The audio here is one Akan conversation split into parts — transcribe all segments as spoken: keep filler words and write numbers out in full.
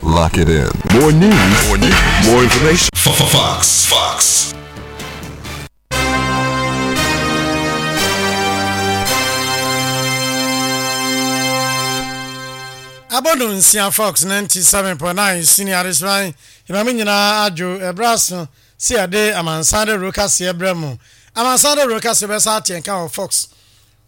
Lock it in. More news, more news, more information. Fox. Fox. Abɔdo nsia Fox ninety-seven point nine sini adesuan ìmàmí nyinaa adwo ɛbrɛ aso si yɛde amansan de ro kaseɛ brɛ mu. Amansan de ro kaseɛ bɛsa ateɛ nka wɔ Fox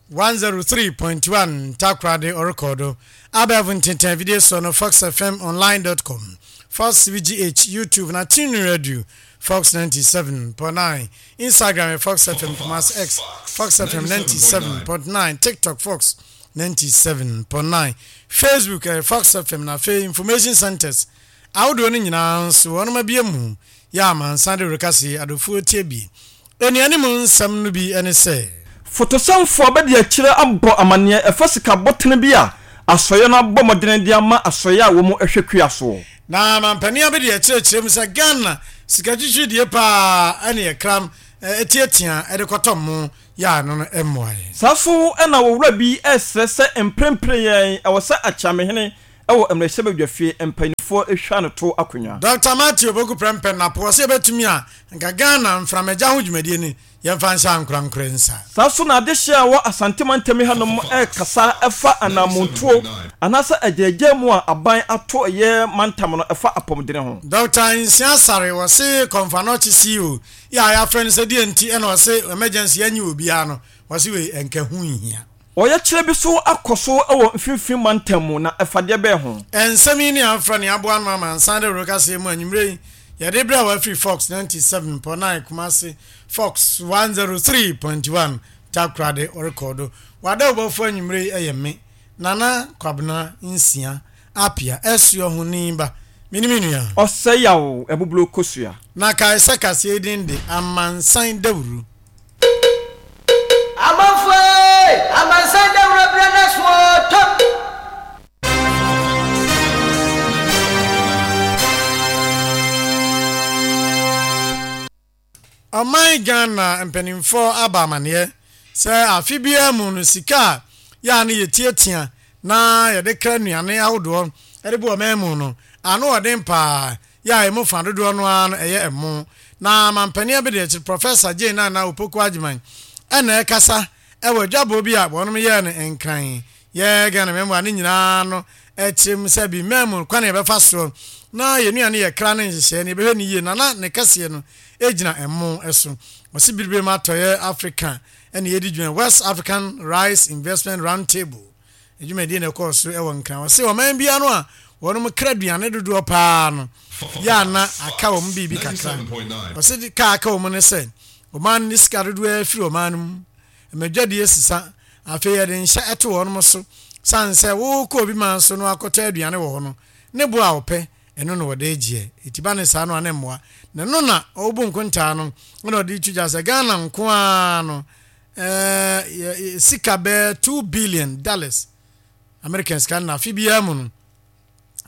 one oh three point one Takoradi ɔrekɔdo abɛɛfo ntenten video so no, fox F M online dot com, Fox V G H YouTube na TuneIn Radio Fox ninety-seven point nine, Instagram Fox F M Kumasi, X Fox F M ninety-seven point nine, TikTok Fox ninety-seven point nine, Facebook eh, Fox F M. Na afei information centers ahodoɔ no nyinaa nso wɔn abie mu yɛ amansan de rekase adofoɔ tie bi. Anuanim nsɛm no bi ne sɛ Fotosɛmfoɔ bɛde akyerɛ abɔ amanneɛ ɛfa sika bɔtene bi a asɔeɛ no abɔ mmɔdene de ama asɔeɛ a wɔn hwɛ kua soɔ. Na mampanin abɛde akyerɛkyerɛ mu sɛ Ghana sika twitwiridie paa ɛne ɛkram ɛtiatia ɛde kɔtɔ mo yɛ ano no mmoaeɛ. Saa so ɛna wɔwura bi ɛsrɛ sɛ mprempren yɛn ɛwɔ sɛ akyeamehene ɛwɔ mmarahyɛbadwafie mpanimfoɔ ehwa no to akonnwa. Doctor Matthew Opoku Prɛmpɛ Napo ɔsɛ yɛbɛtumi a nka Ghana mframagya ho dwumadie ni yɛmfa nhyɛ ankorankorɛ nsa. Saa so na adehyeɛ a wɔ Asante mantam hanom ɛrekasa ɛfa anamontuo anaasɛ agyagya mu a aban ato ɛyɛ mantam no ɛfa apɔmudene ho. Doctor Nsia Sare wɔse Kɔmfo Anɔkye C E O yɛ a yɛafrɛ no sɛ deɛ nti ɛna ɔse emergency yɛnye obiara no, wɔse wei ɛnka ho nhia. Ɔyɛkyerɛ bi so akɔ so wɔ mfimfini mantam mu na ɛfadeɛ bɛɛ ho. Ɛnsɛm yi ne afra ne aboa no ama nsan de rekasɛɛ mu anwummerɛ yi yɛde berɛ a wafiri Fox ninety-seven point nine Kumase, Fox one oh three point one Takoradi ɔrekɔdo wada wobɔfo anwummerɛ yi ɛyɛ me Nana Kwabena Nsia Apia ɛsoɔ ho ni ba mene me nua. Ɔsɛ yaw ɛboblo kosua. Na kae sɛ kaseɛ yi din de Amansan Dawuro. Amanfoɔ, amansan dawuro berɛ no soɔ tɔm. Ɔman Ghana mpanimfoɔ aba amanneɛ sɛ afe biara mu no sika a yɛa no yɛtiatia na yɛde kra nnuane ahodoɔ de bu ɔman mu no ano ɔden paa yɛ a ɛmu fa dodoɔ no ara no ɛyɛ ɛmo. Na mampanin abɛdi akyiri Professor Jane Nana Opoku Agyeman ɛna ɛkasa ɛwɔ adwaboɔ bi a wɔnom yɛɛ no Nkran yɛ Ghana mɛmoa ne nyinaa no ɛkyerɛ mu sɛ bi mmaa kwan yɛbɛfa soɔ na yɛn nnuane yɛ kra ne nhyehyɛeɛ no yɛbɛhwɛ ne yie na na ne kɛseɛ no gyina ɛmo so. Ɔsi Biribiri mu Atɔyɛ Africa ɛna yɛdi dwuma West African Rice Investment Round Table adwumadie na ɛkɔɔ so ɛwɔ Nkran. Ɔsi ɔman bia no a wɔn kra aduane dodoɔ paa no yɛ ana aka wɔn biribi kakra. Ɔsi kaa aka wɔn no sɛ ɔman no sika dodoɔ afiri ɔman no mu mmadwadie sisa afei yɛde nhyɛ ɛto wɔn so san sɛ wokɔ obi man so no akɔtɔ aduane wɔ hɔ no ne bo a wɔpɛ ɛno na wɔde gyeɛ eti ba ne saa no a ne mmoa na ɛno na ɔwɔbu nkontaa no ɛna ɔde tu gya sɛ Ghana nko ara no ɛɛ sika bɛɛ two billion dollars American sika na afe biara mu no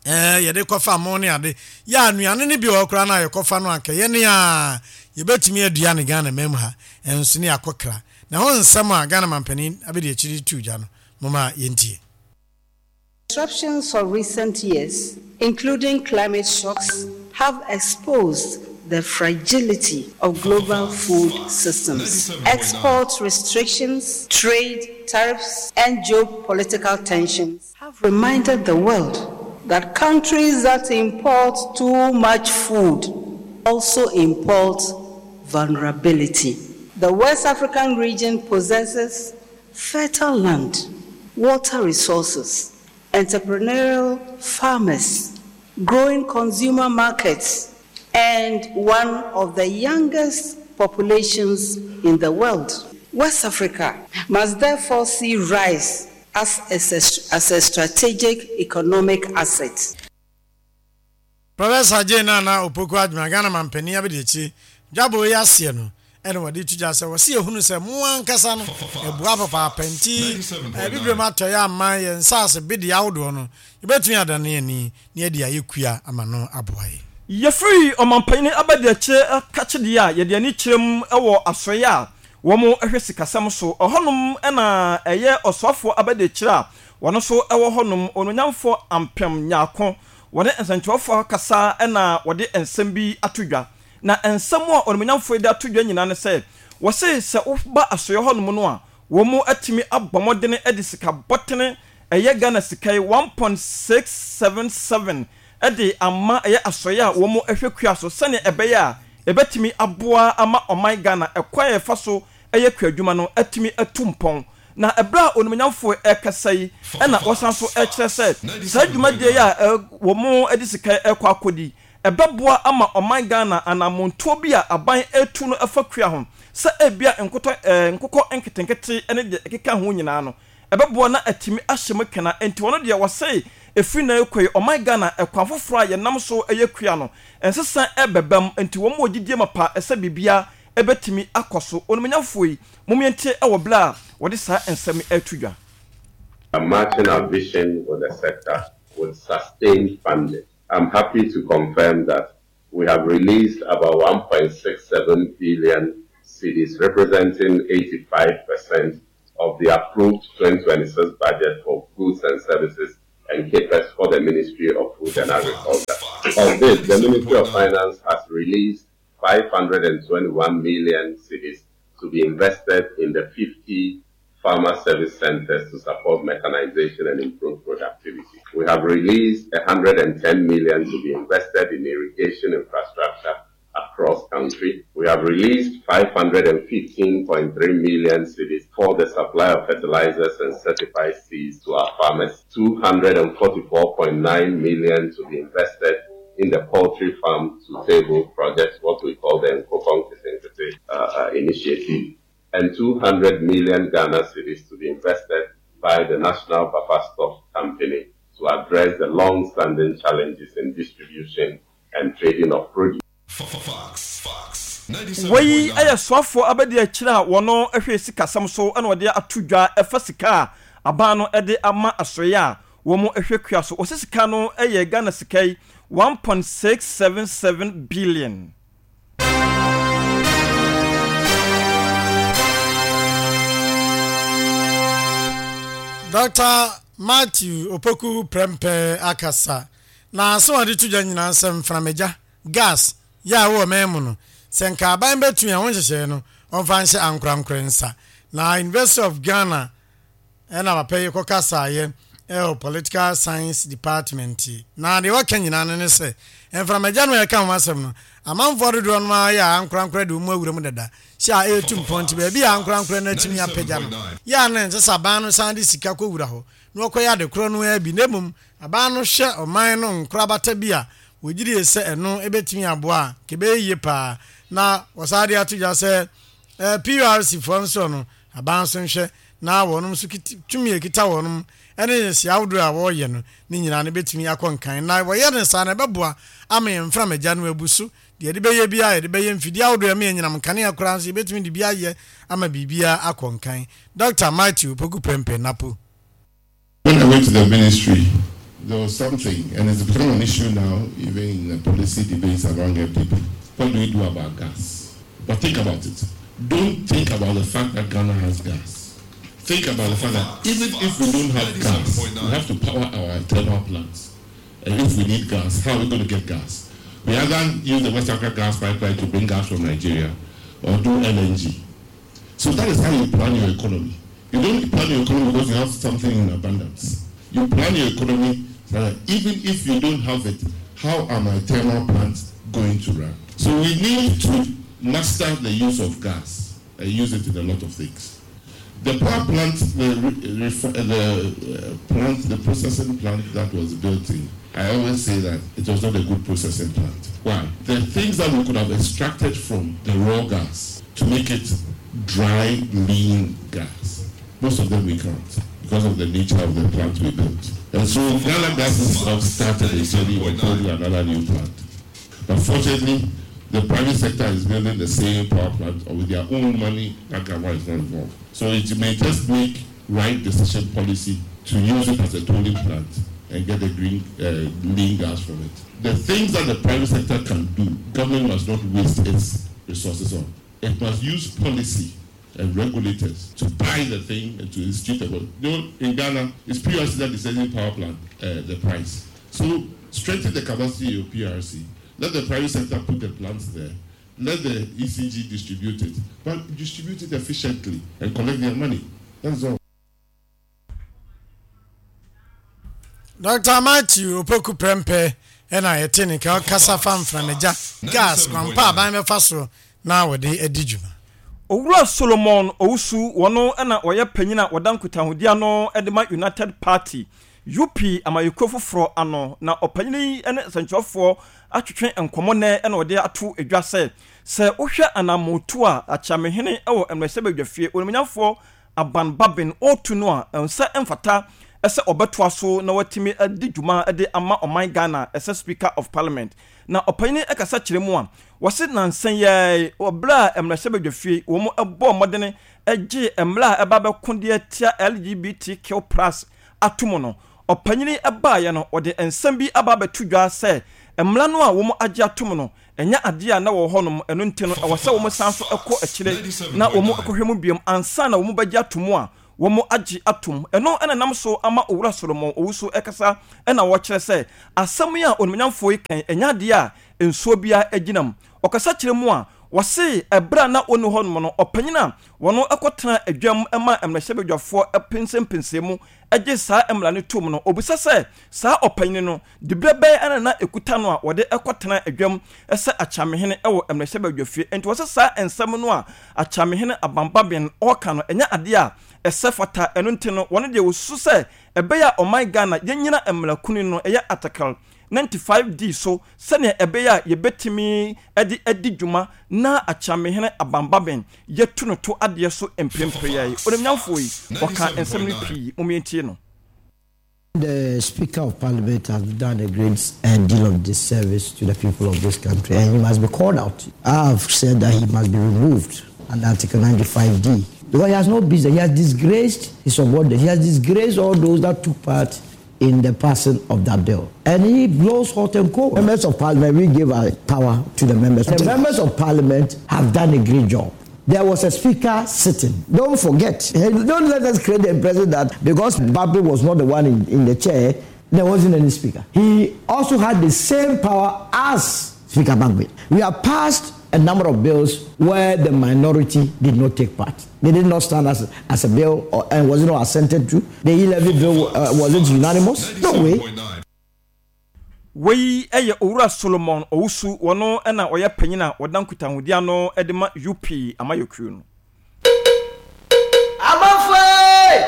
ɛɛ yɛde kɔfa mo ne ade yɛ anuane no bi wɔ hɔ koraa na yɛkɔfa no anka yɛne a yɛbɛtumi adua ne Ghana mam ha ɛnso ne akɔkra na ho nsɛm a Ghana mampanin abɛdi akyiri tu gya no moma yɛntie. Disruptions of recent years, including climate shocks, have exposed the fragility of global food systems. Export restrictions, trade tariffs, and geopolitical tensions have reminded the world that countries that import too much food also import vulnerability. The West African region possesses fertile land, water resources, entrepreneurial farmers, growing consumer markets, and one of the youngest populations in the world. West Africa must therefore see rice as a, as a strategic economic asset. Professor Jane Nana Opoku Adwuma Ghana mampanin abɛdi akyire dwabɔ yi aseɛ no ɛna wɔde tu gya sɛ wɔsi ehunu sɛ mo ankasa no ɛboa papaapa nti ɛbibire mu atɔyɛ ama yɛn nsaase bedi ahodoɔ no yɛbɛtumi adane ani na yɛde ayɛ kua ama no aboa yɛ. Yɛfiri ɔmampanin abɛdi akyire kakyedeɛ a yɛde ani kyerɛ mu wɔ asɔeɛ a wɔn hwɛ sikasɛm so ɛhɔnom ɛna ɛyɛ ɔsoafoɔ abɛdi akyire a wɔn nso wɔ hɔnom ononyamfoɔ Ampem Nyaako. Wɔne nsɛntwerɛfoɔ akasa na wɔde nsɛm bi ato dwa. Na nsɛm a onimuonyamfoɔ yi de ato dwa nyinaa ne sɛ, wɔse sɛ woba asoeɛ hɔnom no a, wɔn atumi abɔ mmɔdene de sika bɔtene, ɛyɛ Ghana sika yi one point six seven seven de ama ɛyɛ asoeɛ a wɔn hwɛ kua so sɛdeɛ ɛbɛyɛ a ɛbɛtumi aboa ama ɔman Ghana ɛkwan a yɛfa so yɛ kuadwuma no atumi atu mpɔn. Na ɛberɛ a onimuonyamfoɔ rekasa yi na wɔsan nso rekyerɛ sɛ saa dwumadie yi a wɔn de sika yi rekɔ akɔdi, ɛbɛboa ama ɔman Ghana anammɔntuo bi a aban retu no fa kua ho sɛ ebia nkotɔ, nkokɔ nketenkete ne deɛ ɛkeka ho nyinaa no, ɛbɛboa na atumi ahyɛ mu kena. Enti ɔno deɛ ɔse ɛfiri nnɛ rekɔ yi ɔman Ghana ɛkwan foforɔ a yɛnam so yɛ kua no, nsesa rebɛba mu. Enti wɔn wɔ gyidie mapa sɛ biribiara bɛtumi akɔ so. Onimuonyamfoɔ yi, mom yɛntie wɔ berɛ a wɔde saa nsɛm yi reto dwa. Matching our vision with the sector with sustained funding. I'm happy to confirm that we have released about one point six seven billion cedis, representing eighty-five percent of the approved twenty twenty-six budget for goods and services and CAPEX for the Ministry of Food and Agriculture. Of this, the Ministry of Finance has released five hundred and twenty-one million cedis to be invested in the fifty farmer service centers to support mechanization and improve productivity. We have released a hundred and ten million to be invested in irrigation infrastructure across country. We have released five hundred and fifteen point three million cedis for the supply of fertilizers and certified seeds to our farmers. two hundred and forty-four point nine million to be invested in the poultry farm to table project, what we call the Nkokɔ Nketenkete, uh, uh, initiative, and two hundred million Ghana cedis to be invested by the National Buffer Stock Company to address the long-standing challenges in distribution and trading of produce. Fox, Fox, Wei yɛ soafoɔ abɛdi akyire a wɔn hwɛ sikasɛm so na wɔde ato dwa ɛfa sika a aban no de ama asoeɛ a wɔn hwɛ kua so. Wɔsɛ sika no yɛ Ghana sika yi one point six seven seven billion. Doctor Matthew Opoku Prempeh akasa na so ɔde to dwa nyinaa sɛ mframagya gas yɛ a wɔ man mu no sɛ nka aban bɛtumi a wɔn nhyehyɛe no ɔmfa nhyɛ ankorankora nsa. Na University of Ghana ɛna papa yi kɔkasaeɛ ɛwɔ Political Science Department yi. Na deɛ wɔka nyinaa no ne sɛ mframagya no a yɛka ho asɛm no amanfoɔ dodoɔ no ara yɛ a ankorankora de wɔn awura mu dada hyɛ a ɛretu mpɔn nti baabi a ankorankora no atumi apagya no yɛ a na ɛnsɛ sɛ aban no san de sika kɔwura hɔ na wɔkɔyɛ ade korɔ no ara bi, na mmom aban no hwɛ ɔman no nkorabata bi a wɔgyidie sɛ ɛno ɛbɛtumi aboa a kɛbɛyɛ yie paa. Na wɔsan de ato dwa sɛ, eh, P U R C foɔ nso no aban nso nhwɛ na wɔnom nso kiti-, tumi a ɛkita wɔnom ɛne nhyehyɛe ahodoɔ a wɔreyɛ no ne nyinaa no bɛtumi akɔ nkan. Na wɔyɛ no saa na ɛbɛboa ama yɛn mframagya no abu so. Deɛ yɛde bɛyɛ biara, yɛde bɛyɛ mfidie ahodoɔ a ɛma yɛn nyinam nkanea koraa nso yɛbɛtumi de bi ayɛ ama biribiara akɔ nkan. Doctor Matthew Opoku Prempeh Napo. When I went to the ministry, there was something, and it's become an issue now, even in the policy debates among N P P. What do we do about gas? But think about it. Don't think about the fact that Ghana has gas. Think about the fact that even if we don't have gas, we have to power our thermal plants. And if we need gas, how are we gonna get gas? We either use the West Africa gas pipeline to bring gas from Nigeria or do L N G. So that is how you plan your economy. You don't plan your economy because you have something in abundance. You plan your economy so that even if you don't have it, how are my thermal plants going to run? So we need to master the use of gas and use it in a lot of things. The power plant, the, the, uh, plant, the processing plant that was built in, I always say that it was not a good processing plant. Why? The things that we could have extracted from the raw gas to make it dry, lean gas, most of them we can't because of the nature of the plant we built. And so Ghana Gas has started a journey of building another new plant. But fortunately, the private sector is building the same power plant or with their own money, that Ghana is not involved. So it may just make right decision policy to use it as a tolling plant and get the green, uh, lean gas from it. The things that the private sector can do, government must not waste its resources on. It must use policy and regulators to buy the thing and to institute the. You know, in Ghana, it's P R C that is selling power plant, uh, the price. So Strengthen the capacity of P R C. Let the private sector put the plants there. Let the E C G distribute it. But distribute it efficiently and collect their money. That's all. Doctor Matthew Opoku Prempe and I attend Kasa Farm from gas grandpa by me faso now with the Edijuma. Owura Solomon Owusu wono na oye panyin a wodan kutahodi ano edema United Party U P amayeko foforo ano na opanyin ene sanchofo atwetwe enkomo ne na ode ato edwa se se wohwɛ anamoto a achamehene ewo emresebedwafie onimnyafo aban babin otu no a ensa emfata ese obeto aso na watimi adi dwuma de ama oman Ghana ese Speaker of Parliament na opanyin ekasa kyerɛ mu a wose nansan ye obra emresebedwafie wo mo ebo modene egye emra eba bekode atia L G B T Q plus atumo no opanyini ebaye no ode ensem bi aba betudwa se emra no a wo mo agye atom no enya ade a na wo honom eno ntino e wo se wo mo sanso ekɔ akyire na wo mo ekɔhwɛ mu biom ansa na wo mo bagye atom a wo mo agye atom eno ena nam so ama Owura Solomon Owusu ekasa ena wo kyerɛ sɛ asɛm ya onimnyamfo yi kan enya ade a ensuo bia agyinam ɔkasa kyerɛ mu a wɔse ebra na onu honom no ɔpanyina wono ekɔtena adwam ema emrehye epensempensem mu agye saa emra ne tum no obisa sɛ saa ɔpanyini no dibre bɛn ana na ekuta no a wɔde ekɔtena adwam ɛsɛ achamehene ɛwɔ emrehye badwafie enti wɔse saa ensɛm no a achamehene abambaben ɔka no enya ade a ɛsɛ fata ɛno nti no wɔno de wosu sɛ ɛbɛyɛ ɔman Ghana yɛnyina emra kunu no ɛyɛ article ninety-five D so sɛnea ɛbɛyɛ yɛbɛtumi ɛde adi dwuma na achamehene abambaben yɛtu no to adeɛ so mprempren yi onimnyamfo yi ɔka nsɛm no pii momientie no. The Speaker of Parliament has done a great deal of disservice to the people of this country, and he must be called out. I have said that he must be removed under Article ninety-five D because he has no business. He has disgraced his subordinates. He has disgraced all those that took part in the passing of that bill. And he blows hot and cold. Members of Parliament, we give our power to the members. The members of Parliament have done a great job. There was a speaker sitting. Don't forget. Don't let us create the impression that because Babi was not the one in, in the chair, there wasn't any speaker. He also had the same power as Speaker Bagbin. We have passed a number of bills where the minority did not take part. They did not stand as, as a bill or, and was not assented to. The E-levy bill uh, wasn't unanimous. No way. Wei eye Owura Solomon Owusu wono na oye panyin wodan kutahudi ano edema U P amayokru no. Amanfo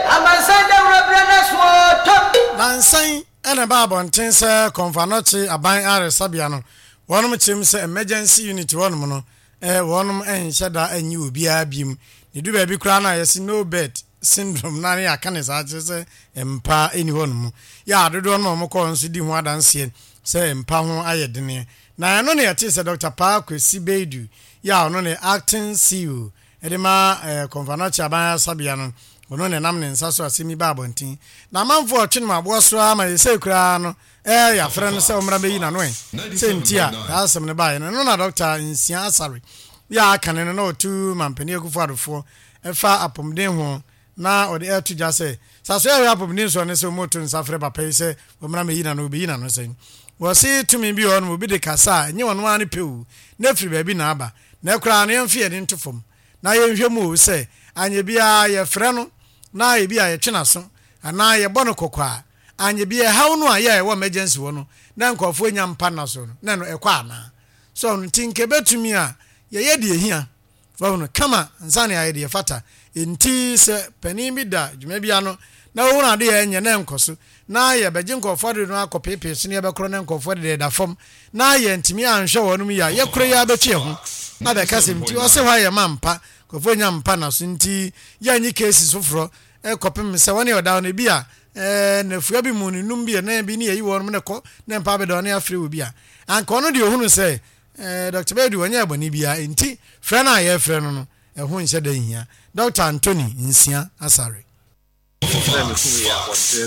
amansan da wura na so top. Nansan ena ba abonten se konfanochi aban aresabia no. Wonom kyem se emergency unit wonom no eh wonom enhye da anyi obi abim ne du ba bi kura na yesi no bed syndrome na ne aka ne sa kye se empa eni wonom ya adodo no mo ko nso di ho adanse se empa ho ayedene na eno ne yete se Doctor Pa Kwesi Beidu ya ono ne acting C E O edema eh konfanochi aban asabia no ono ne nam ne nsa so asemi ba abontin na manfo otwe no abo so ama yese kura no eh ya frɛ no sɛ omra beyi na no eh sɛ ntia asɛm ne bae no no na Doctor Nsia Asare ya aka ne no na otu mampani akufo adofo ɛfa apomden ho na ɔde ɛto gya sɛ saso yɛ apomden so ne sɛ moto nsa frɛ papa yi sɛ omra meyi na no obeyi na no sɛn wɔse tumi bi ɔno obi de kasa nye wɔno ani pewu na firi baabi na aba na kura no yɛmfe yɛde nto fam na yɛnhwɛ mu o sɛ anye bia yɛfrɛ no na ebi a yɛtwe naso ana yɛbɔ no kɔkɔ anye bia hawo no a yɛ wɔ emergency wɔ no na nkɔfo nya mpa naso no na no ɛkɔ ana so no tinke betumi a yɛyɛ de ehia fa no kama nsa ne ayɛ de fata enti sɛ panin bi da dwuma bia no na wo na de yɛ nye na nkɔso na yɛ begye nkɔfo de no akɔpepe so ne yɛbɛkorɔ ne nkɔfo de da fam na yɛ ntimi anhwɛ wɔ no mu ya yɛkorɔ yɛ abɛtwe ho na bɛka sɛ nti ɔse hɔ ayɛ ma mpa kɔfo nya mpa naso nti yɛnyi cases foforo ekɔpem sɛ wɔne ɔda no bi a eh na fua bi mu num bi na bi ne yeyi wɔn ne kɔ na mpa bɛda ne afre wo bi a anka ɔno de ohunu sɛ eh Doctor Bedu wɔnyɛ abɔne bia enti frɛ na ye frɛ no no ɛho nhyɛ da hia Doctor Anthony Nsia Asare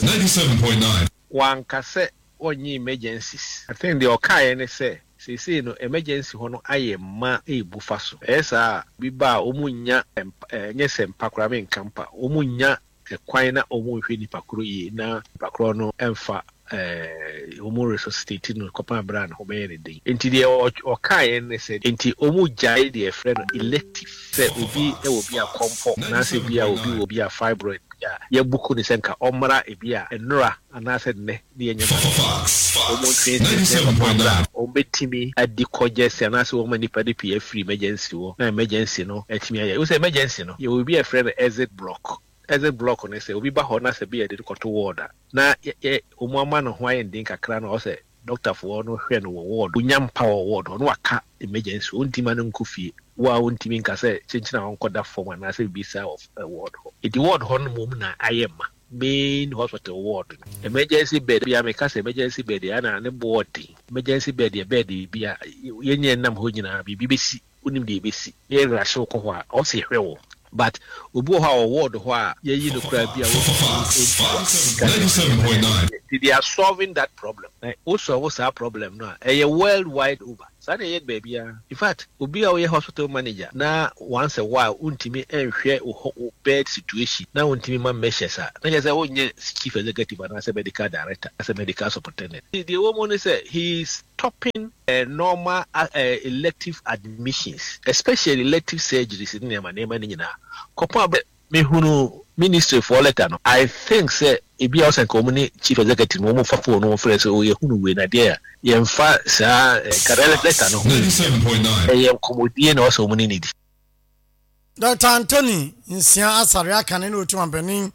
ninety-seven point nine Wanka sɛ ɔnye emergencies. I think the ɔkaeɛ ne sɛ seesei no emergency hɔ no ayɛ ma ebu fa so. Ɛyɛ saa bi ba a ɔmu nya ɛnyɛ sɛ mpa koraa menka mpa ɔmu nya kwan na ɔmu nhwɛ nipa koro yie na nipa koro no ɛmfa eh wɔn resuscitate no kɔpem abira no ho bɛyɛ ne den. Nti deɛ ɔkaeɛ ne sɛ nti wɔn gyae deɛ yɛfrɛ no elective, sɛ obi ɛwɔ bi a kɔmpɔ anaasɛ bi a obi wɔ bi a fibroid bi a yɛbuku ne sɛ nka ɔmmra ebi a nnora anaasɛ nnɛ ne yɛnyɛ ma wɔn ntwe sɛ kɔpem abira wɔn bɛtumi adi kɔgyɛsi anaasɛ wɔn ma nipa de pii afiri emergency wɔ na emergency no ɛtumi ayɛ. Wosɛ emergency no yɛwɔ bi a yɛfrɛ no exit block. Exit block no sɛ obi ba hɔ na sɛ bi yɛde kɔto ward a na yɛ wɔn ama ne ho ayɛ den kakra na ɔsɛ doctorfoɔ no hwɛ no wɔ ward, onya mpa wɔ ward hɔ na waka emergency, ontimi ma no nkɔ fie wo a ontimi nka sɛ kyenkyene a ɔnkɔda fam anaasɛ biribi saa wɔ ward hɔ. Eti ward hɔ no mmom na ayɛ ma main hospital ward no emergency bed bi a meka sɛ emergency bed yɛ ana ne boɔ den. Emergency bed yɛ bed bi a yɛnyɛ nam hɔ nyinaa biribi bɛsi, wonim deɛ ɛbɛsi na yɛrehye wo kɔ hɔ a ɔsɛ hwɛ wɔ. But obi wɔ hɔ a ɔwɔ ward hɔ a yɛyi no koraa bi a ninety-seven point nine. They are solving that problem. Na wo solve saa problem no a ɛyɛ worldwide over saa na ɛyɛ baabiara. In fact, obi a ɔyɛ hospital manager na once a while wontumi nhwɛ wo wo bed situation na wontumi ma measures a, na kyerɛ sɛ wonyɛ chief executive anaasɛ medical director anaasɛ medical superintendent. Deɛ ɛwɔ mu ne sɛ he is stopping uh, normal uh, elective admissions, especially elective surgeries ne nneɛma nneɛma no nyinaa kɔpɔn abɛ mehunu ministry for letter no. I think sɛ ebi a ɔsɛ nka wɔn ne chief executive no wɔn fa phone no wɔn frɛ sɛ ɔyɛ hunu wei na deɛ a yɛmfa saa nka letter no ho ɛyɛ nkɔmɔdie na ɔsɛ wɔn ne ne di. Doctor Anthony Nsia Asare aka ne na otu mampanin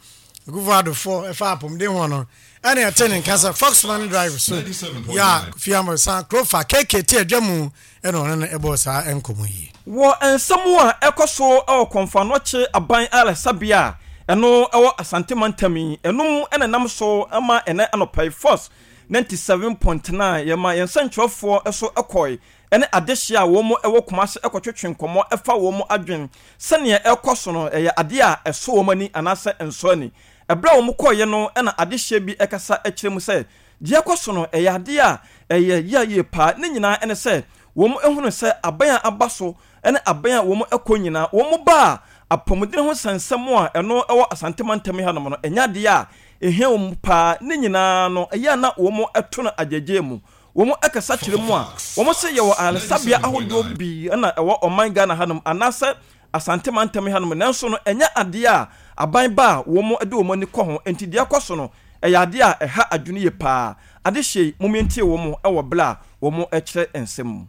Akufo Addo ɛfa apɔmuden ho no ɛna ɛte ne nka sɛ Fox Money Drive so yɛ a Kofi Amosan Krofa K K T adwa mu ɛna ɔno no ɛbɔɔ saa nkɔmmɔ yi. Wɔ nsɛm a ɛkɔ so ɛwɔ Kɔmfo Anɔkye aban ayaresabea a ɛno ɛwɔ Asante mantam yi ɛnum ɛna nam so ama ɛnɛ anɔpa yi Force ninety-seven point nine yɛma yɛn nsɛntwerɛfoɔ ɛso ɛkɔe ɛne adehyeɛ a wɔn ɛwɔ Kumase ɛkɔtwetwe nkɔmmɔ ɛfa wɔn adwen sɛnea ɛkɔ so no, ɛyɛ adeɛ a ɛso wɔn ani anaasɛ ɛnsɔ ani. Ɛberɛ a wɔn kɔɔeɛ no ɛna adehyeɛ bi ɛkasa ɛkyerɛ mu sɛ deɛ ɛkɔ so no ɛyɛ adeɛ a ɛyɛ yie yie paa. Ne nyinaa ɛne sɛ wɔn ehunu sɛ aban a aba so ɛne aban a wɔn ɛkɔ nyinaa wɔn ba a apɔmuden ho nsɛnsɛm a ɛno ɛwɔ Asante mantam hanom no ɛnyɛ adeɛ a ehia wɔn paa. Ne nyinaa no ɛyɛ a na wɔn ɛto no agyegye mu. Wɔn ɛkasa kyerɛ mu a wɔn sɛ yɛwɔ ayaresabea ahodoɔ bi ɛna ɛwɔ ɔman Ghana hanom anaasɛ Asante mantam hanom, nanso no ɛnyɛ adeɛ a aban ba a wɔn de wɔn ani kɔ ho. Nti deɛ ɛkɔ so no ɛyɛ adeɛ a ɛha adwene yie paa. Adehyɛ yi mumie wɔn ɛwɔ bere a wɔn ɛkyerɛ nsɛm mu.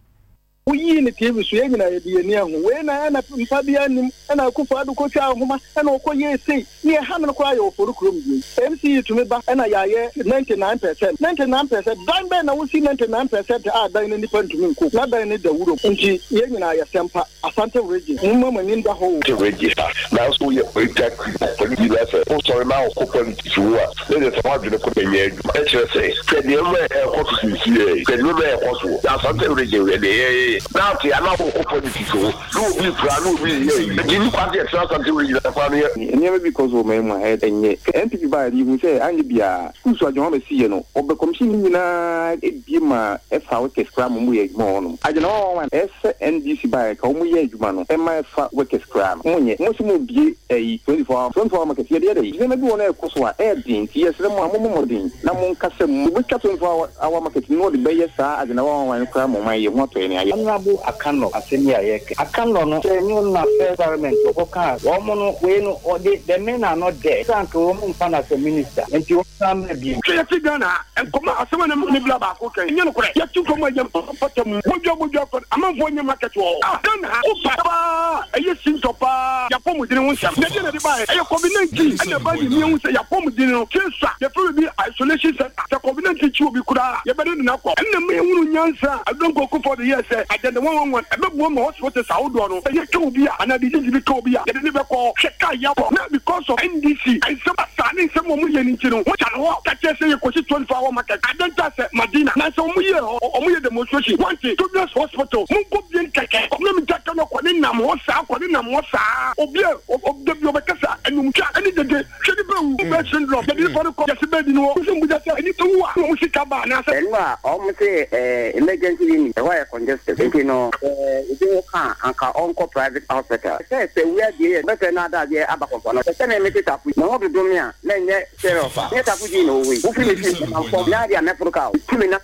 Woyii ne T V so, yɛn nyinaa yɛde yɛni ahu wei na ɛna mpa bi anim ɛna Akufo Ado kɔtwa ahoma ɛna ɔkɔ yɛ sei ne ɛha no koraa yɛ ɔfɔre kurom die. M C E tumi ba ɛna yɛayɛ ninety nine percent, ninety nine percent. Dan bɛn na wosi ninety nine percent a dan no nipa ntumi nko na dan no da wurom? Nti yɛn nyinaa yɛ sɛmpa Asante Region, mo mma mo ani nda hɔ o. Register nanso woyɛ political politics na sɛ wosɔre na wokɔ politics mu a ne de sɛ woadwene kɔ na nyɛ adwuma. Ɛkyerɛ sɛ hwɛ nneɛma a ɛkɔ so sisiɛ, hwɛ nneɛma a ɛkɔ so na Asante Region, hwɛ deɛ yɛyɛ na ate ana wokɔ politics ho na obi pira na obi yɛ yi nti nipa sɛ yɛtena Asante Region afa no yɛ. Nneɛma bi kɔ so wɔ man mu a ɛnyɛ N P P baa yɛde ihu sɛ anyɛ biara schools a adwuma bɛsi yɛ no ɔbɛ commission no nyinaa ebie ma ɛfa workers koraa ma ɔmo yɛ adwuma wɔ hɔnom agyina hɔ wɔn ɛsɛ N D C baa ka ɔmo yɛ adwuma no ɛma ɛfa workers koraa no mo nyɛ mo sɛ mo bie ɛyi twenty four hour twenty four hour market yɛde yɛ dɛ nneɛma bi wɔ no ɛkɔ so a ɛyɛ den, nti yɛsrɛ mo a mo mmɔ mmɔden na mo nkasa mu obetwa twenty four hour market no ɔde bɛyɛ saa agyina hɔ wɔn koraa mo man yɛ ho atɔ yɛn ayɛ. Honorable Akano, asɛm yi a yɛka Akano no sɛ ne na first parliament ɔkɔka wɔn mo no wei no ɔde the men are not there sanka wɔn mu nfa na sɛ minister nti wɔn san mɛ bi. Hwɛ, yɛte Ghana ha nkɔmɔ asɛm a ne bila baako kan nyɛ nokorɛ. Yɛte nkɔmɔ a yɛ mpata mu bodwa bodwa kɔ amanfoɔ nyɛ market wɔ hɔ. Ah, Ghana ha wopa paa ɛyɛ sintɔ paa. Yɛapɔmuden ho nsɛm na ɛdeɛ na ɛde baeɛ ɛyɛ COVID nineteen ɛna ɛba ne nea hu sɛ yɛapɔmuden no sesa yɛfrɛ bi isolation center sɛ COVID nineteen kyi obi koraa yɛbɛde ne nakɔ. Ɛnna ma yɛhunu nyansa a Adonko Akufo de yɛɛ sɛ Agenda one one one ɛbɛboa ma hospitals ahodoɔ no ɛyɛ ka obi a anaa disease bi ka obi a yɛde ne bɛkɔ. Hwɛ kaa yɛakɔ na because of N D C nsɛm asa ne nsɛm wɔn yɛ ne nti no wɔkya no hɔ ka kyerɛ sɛ yɛkɔsi twenty four hour market adenta sɛ Madina na sɛ wɔn yɛ hɔ wɔn yɛ demonstration wɔnte Children's Hospital mo nkɔ bie nkɛkɛ ɔmo mi gya no kɔ ne nam hɔ saa kɔ ne nam hɔ saa obi a ɔdabi ɔbɛkasa ɛnumtwa ɛne dede. Hwɛ nipa wu bɛ syndrome yɛde nipa no kɔ yɛsi bɛɛ di ni wɔ muso mbuja sɛ nipa wu a ɔmo sika ba anaasɛ. Ɛnu a ɔmo sɛ ɛɛ emergency unit ɛhɔ yɛ congested nti no ɛɛ ebi wɔ kan anka ɔnkɔ private hospital sɛ sɛ wia die yɛ bɛfɛ na ada adeɛ aba kɔnkɔn no sɛ mɛ mete tapo na ho dodo me a na nyɛ serious a nyɛ tapo di na owe wofiri me fie na fam na adeɛ a mɛforo ka o tumi na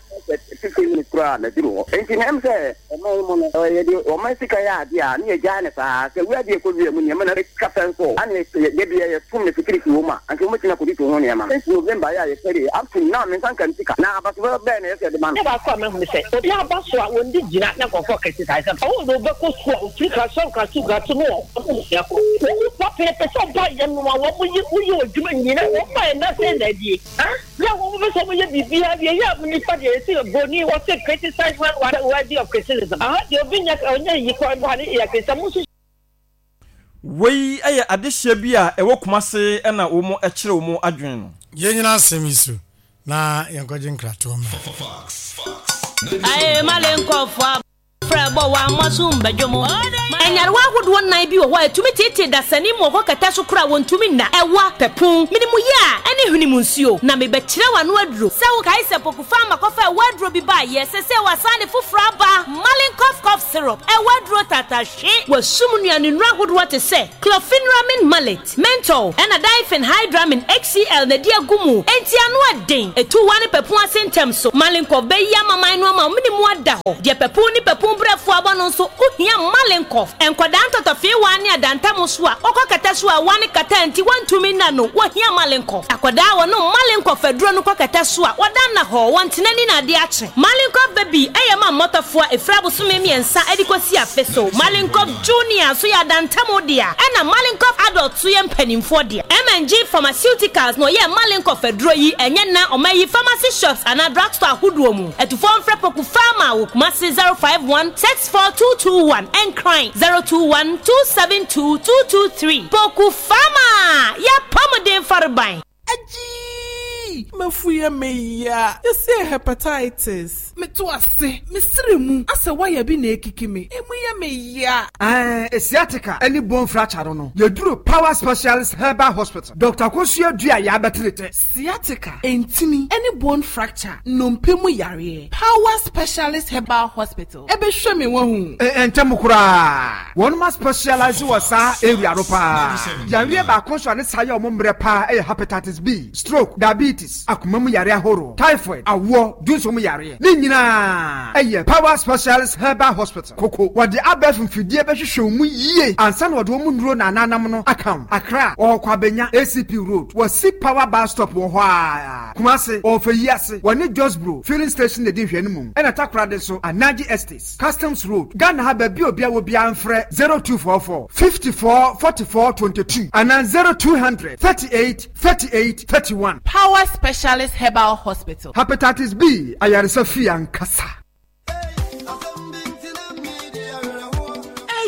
fifteen minutes koraa na duru hɔ enti na ɛm sɛ ɔman mu no yɛde ɔman sika yɛ adeɛ a ne yɛgyaa ne saa sɛ wia deɛ kɔ wia mu nneɛma na ɛtwa fɛn so ane yɛde yɛtom ne security wɔ mu a anka wɔmɛtumi akɔdi to ho nneɛma since November yɛ a yɛsɛre up to now mensa nka sika na abaso bɛɛ na yɛsɛ de ma no. Ne baako a mahu sɛ obi aba so a wɔndi gyina na nkɔfoɔ criticize ɔwɔ na wobɛkɔ sukuu a ofiri class one class two class two no wɔ ɔmo wɔn pɛpɛɛpɛ sɛ ɔba yɛ no a wɔn yi woyɛ adwuma nyina wɔn ba yɛ nase na adie ah yɛ wɔn bɛ sɛ wɔn yɛ biribiara deɛ yɛ a nipa deɛ yɛsi broni wɔsi criticize one worthy of criticism aha deɛ obi nya ɔnyɛ yi kɔ ɛbɔ ne yɛ criticize mo nso. Wei ɛyɛ adehyɛ bi a ɛwɔ Kumase ɛna wɔn ɛkyerɛ wɔn adwene no. Yɛn nyinaa asɛm yi so na yɛnkɔgye nkratoɔ ma. Aye malenkɔfo frɛ wa masum badwomo. Enyarewa ahodoɔ nnan bi wɔ hɔ a etumi tete dasani mu ɔkɔ kɛtɛ so kora wɔntumi nna ɛwa pɛpun minimu yɛ a ɛne hwene mu nsuo na mebɛkyerɛ w'ano aduro sɛ wokae sɛ Poku Farma kɔfa ɛwɔ aduro bi ba yɛ sɛ sɛ wasane foforɔ aba Malinkoff cough syrup ɛwɔ aduro tatahwe wɔsum nnuane nnuro ahodoɔ te sɛ chlorpheniramine malate menthol ɛna diphenhydramine H C L na di agu mu enti ano aden etu wa ne pɛpun ase ntɛm so Malinkoff bɛyi amaman no ama minimu ada hɔ deɛ pɛpun ne pɛpun brɛfo abɔ no nso wohia Malinkoff enkwadaa ntɔtɔfeewa ne adantam so a wɔkɔ kɛtɛ so a wane kata nti wɔntumi nna no wohia Malinkoff akwadaa wɔ no Malinkoff aduro no kɔ kɛtɛ so a wɔda nna hɔ wɔntena ni na ade akye Malinkoff baby ɛyɛ ma mmɔtɔfoɔ a ɛfiri abosome mmiɛnsa ɛde kɔsi afe so Malinkoff junior so yɛ adantam dea ɛna Malinkoff adult so yɛ mpanimfoɔ dea M N G Pharmaceuticals na ɔyɛ Malinkoff aduro yi ɛnyɛ na ɔma yi pharmacy shops anaa drugstore ahodoɔ mu ɛtufoɔ mfrɛ Poku Farma wɔ Kumasi zero five one six four two two one Nkran zero two one two seven two two two three Poku Farma yɛ pɔmuden fareban. Aji mafuye meya yɛsɛ hepatitis meto ase mesere mu asɛ waya bi na ekiki me emu yɛ meya. Eh sciatica any bone fracture no yɛduru Power Specialist Herbal Hospital Doctor Kosua dua ya betrete sciatica entini any bone fracture nnompe mu yare Power Specialist Herbal Hospital ebe hwe me wahu eh ntem kura won ma specialize wɔ saa area no pa yare ba konso ne saa ye omo mre pa eh hepatitis B, stroke, diabetes, akoma mu yare ahoro, typhoid, awo, dunso mu yare. Ni nyina eye Power Specialist Herbal Hospital. Koko wode abef mfidie behwehwe mu yie ansa na wode mu nuro na ananam no account. Accra wo kwabenya A C P Road. Wo si Power bus stop wo ho a. Kumase ofeyi ase. Wo ne Josbro filling station de hwe ne mu. Ena Takoradi so Anaji Estates, Customs Road. Ghana ha ba bi obi a wo bia mfrɛ zero two four four fifty-four forty-four twenty-two and zero two hundred thirty-eight thirty-eight thirty-one. Power Specialist Herbal Hospital. Hepatitis B, ayaresa fi ankasa.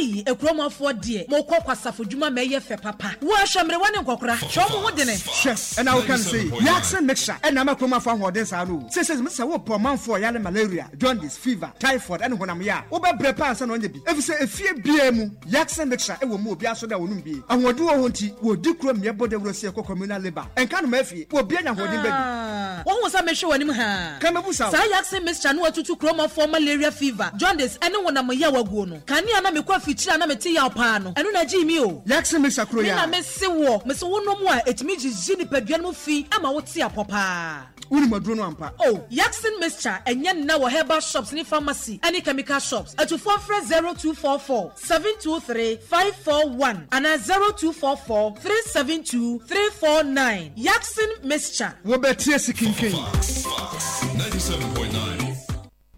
Hey, ekromafo de, mo kɔ kwasafo dwuma ma ye fe papa. Wo ahwemre wane nkokora. Hwe mo ho de ne. Hwe, and I can say, Reaction mixture and na makromafo ahoden saa no. Say say say wo pomanfo yale malaria, jaundice, fever, typhoid and honam ya. Wo be bre pa ansa na onye bi. Efi say efie bia mu, Reaction mixture e wo mu obi aso da wonum bi. Ahodu wo ho nti, wo di krom ye bode wuro se ekɔ communal labor. Enka no ma afie, wo bia nya ahoden ba bi. Wo hu sa mehwe wanim ha. Ka mebu sa. Sa Reaction mixture no atutu kromafo malaria, fever, jaundice and honam ya waguo no. Kani na mekɔ afikyiri na mete yaw paa no ɛno na gyi mi o Reaction mixture kro ya me na mese wo mese wo nom a etimi gigi nipadua no fi ama wo te apɔpaa woni maduro no ampa oh Reaction mixture enye nna wɔ herbal shops ni pharmacy any chemical shops atufo frɛ zero two four four seven two three five four one and zero two four four three seven two three four nine Reaction mixture wo betie sikinkin ninety-seven point nine.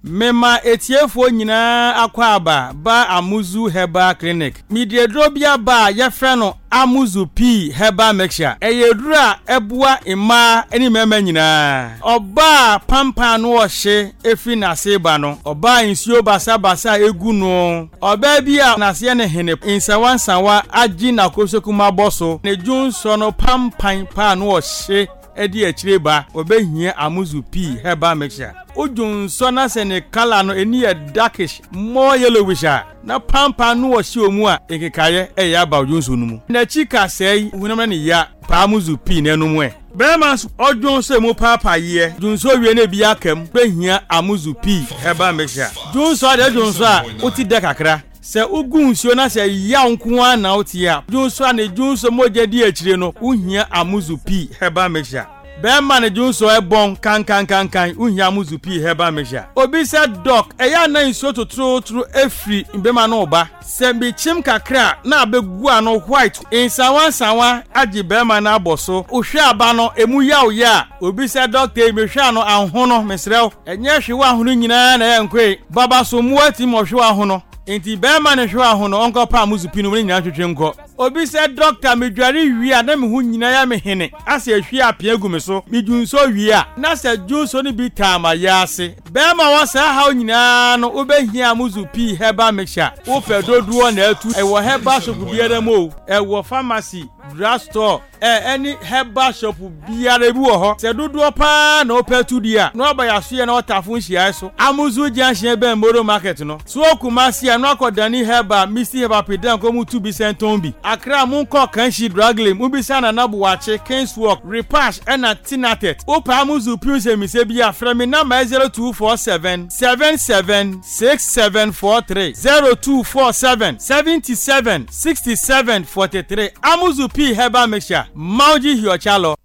Mema etiefo nyinaa akɔ aba ba Amuzu Herbal Clinic. Midiedro bia ba yɛfrɛ no Amuzu P Herbal Mixture. Ɛyɛ duro a ɛboa mmaa ne mmarima nyinaa. Ɔbaa pampan no ɔhye efi n'ase ba no. Ɔbaa nsuo basabasa egu no. Ɔbaa bi a n'aseɛ ne hene nsawansawa agye n'akosoku mabɔ so. Ne dwonsɔ no pampan paa no ɔhye. ɛde akyire ba wɔbɛhia Amuzu Pii Herbal Mixture. Wodwo nsɔ na sɛ ne colour no ani yɛ darkish, more yellowish a, na pampan no wɔ hyɛ mu a, nkekaeɛ ɛyɛ aba odwo nsuo no mu. N'akyi kasɛe hunam na ne ya paa Amuzu Pii n'anom ɛ. Bɛrima nso ɔdwo nso emu paapaayeɛ dwonso wie na ebi aka mu bɛhia Amuzu Pii Herbal Mixture. Dwonso adeɛ dwonso a wote dɛ kakra. Sɛ wogu nsuo na sɛ yaw nko ara na wote a, dwonso a ne dwonso mogya di akyire no, wohia Amuzu Pii Herbal Mixture. Bɛrima ne dwonso ɛbɔn kankankankan, wohia Amuzu Pii Herbal Mixture. Obi sɛ, "Doc, ɛyɛ ana nsuo totorotoro efiri mbɛma no ba sɛ mekyim kakra na abɛgu ano white nsawa nsawa agye bɛrima no abɔ so wohwɛ aba no emu yaw yɛ a?" Obi sɛ, "Doctor yi, mehwɛ ano ahono, mesrɛ wo, ɛnyɛ hwewa ahono nyinaa na ɛyɛ nkoe baba so mmoa ti ma ɔhwewa ahono nti bɛrima ne hwewa ahono ɔnkɔpa Amuzu Pii no mu ne nyinaa twetwe nkɔ." Obi sɛ, "Doctor, medware wie a na me ho nyinaa yɛ me hene asɛ ehwie apea gu me so, medwu nso wie a na sɛ dwonso no bi taa ma yɛ ase." Bɛrima wɔ saa haw nyinaa no, wobɛhia Amuzu Pii Herbal Mixture. Wopɛ dodoɔ na atu, ɛwɔ herbal shop biara mu o, ɛwɔ pharmacy, drug store, ɛ ɛne herbal shop biara bi wɔ hɔ. Sɛ dodoɔ paa na wopɛ tu di a, na waba yɛasoyɛ na wɔtafo nhyiae so, Amuzu Junction bɛn Moro Market no so. Kumasi a, na wakɔ Dani Herbal, Misty Herbal, Pedan kɔ mu tu bi sɛntɔn bi. Accra, monkɔ Kanshi Dragley, mobisa Nana Buakye, Kingswalk, Repash ɛna Tinatet. Wopɛ Amuzu Pii nsɛmmisɛ bi a, frɛ me number zero two four seven seven seven six seven four three, zero two four seven seventy-seven sixty-seven forty-three. Amuzu Pii Herbal Mixture, Mauji Hiochalo.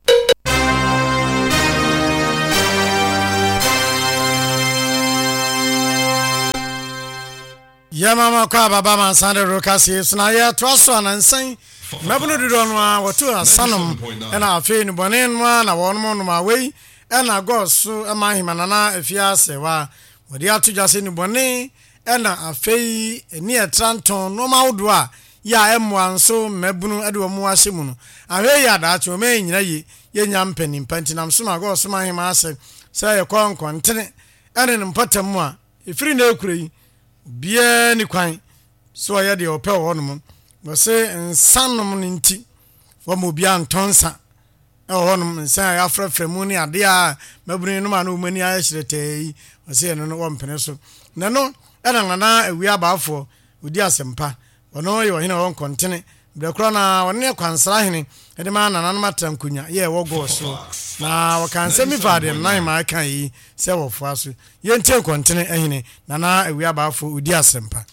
Yɛmama kɔ ababa mansa de ro kaseɛ so na yɛtoa so anansan mmabunu dodoɔ no a wɔto asanom ɛna afei nnubɔne no a na wɔnom nom a wei ɛna gɔɔ so ɛma ahema Nana Afia Asɛwa wɔde ato dwa sɛ nnubɔne ɛna afei ani ɛtra ntɔn nneɛma ahodoɔ a yɛ a ɛmmoa nso mmabunu de wɔn ahyɛ mu no ahwɛ yi adaakye wɔn ɛnyina yie yɛnya mpanimpa. Nti nam so ma gɔɔ so ma ahema asɛ sɛ yɛkɔ nkɔntene ɛne ne mpɔtam mu a ɛfiri na ekura yi obiara ni kwan sɛ ɔyɛ deɛ ɔpɛ wɔ hɔnom. Wɔsɛ nsa nom no nti wɔma obiara ntɔ nsa ɛwɔ hɔnom, nsa a yɛafrɛfrɛ mu ne adeɛ a mmabunu nom a na wɔn ani ayɛ hyerɛtɛɛ yi. Wɔsɛ ɛno no wɔmpene so na no ɛna Nana Awia Abaafoɔ odi asɛmpa. Ɔno yɛ ɔhene a ɔwɔ nkɔntene berɛ korɔ na ɔne ne kwansra hene ɛde ma nananom atra nkonnwa yɛ ɛwɔ gɔɔ so na wɔka nsɛm bi fa deɛ Nana Hemaa ka yi sɛ wɔfoa so. Yɛntie nkɔntene hene Nana Awia Abaafoɔ odi asɛmpa.